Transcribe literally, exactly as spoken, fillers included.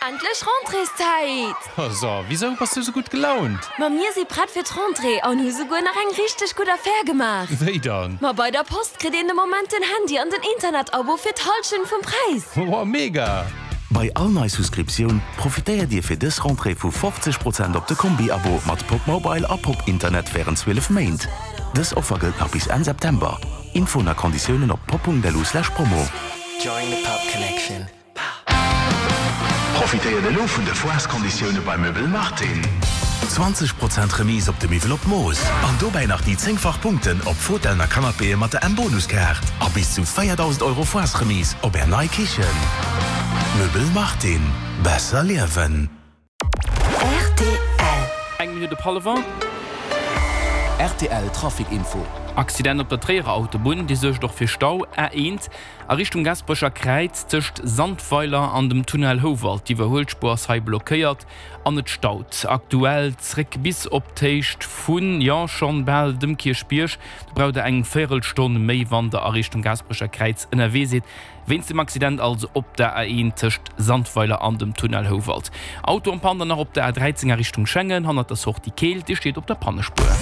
Endlech Rentréeszäit! So, wisou bass du sou gutt gelaunt? Ma mir si prett fir d'Rentrée an hu souguer nach eng richteg gutt Affär gemaach. Wéi dann? Ma bei der Post kritt een de Moment den Handy an den Internetabo fir d'Hallschent vum Präis. Wow, mega! Bei all nei Souscriptioun profitéiert Dir fir dës Rentrée vu fofzeg Prozent op de Kombi-Abo mat Popmobile a Pop-Internet wärend zwielef Méint. Dës Offer gëllt nach bis Enn September. Infoen a Konditiounen op pop.lu/promo. Join the Pop Connection. Profitéiert elo vun de Foireskonditioune bei Möbel Martin. zwanzeg Prozent Remise op de Miwwel op Mooss an dobäi nach déi zéngfach Punkten op Fotellen a Canapéë mat der M-Bonuskaart a bis zu véierdausend Euro Foiresremise op Är nei Kichen. Möbel Martin, besser liewen. Rtl. Eng Minutt op hallwer. Rtl Trafic Info. Accident op der Tréierer Autobunn, dee suergt och fir Stau, A eent a Richtung Gaasperecher Kräiz tëscht Sandweiler an dem Tunnel Houwald. D'Iwwerhuelspuer ass hei blockéiert an et staut aktuell zréck bis op d'Héicht vun, jo, schonn bal dem Kierchbierg. Do braucht der eng Véierelstonn méi, wann der a Richtung Gaasperecher Kräiz ënnerwee sidd. Wéinst dem Accident also op der A eent tëscht Sandweiler an dem Tunnel Houwald. Auto en panne dann nach op der A dräizéng a Richtung Schengen, hannert der Sortie Keel, Dir steet op der Pannespuer.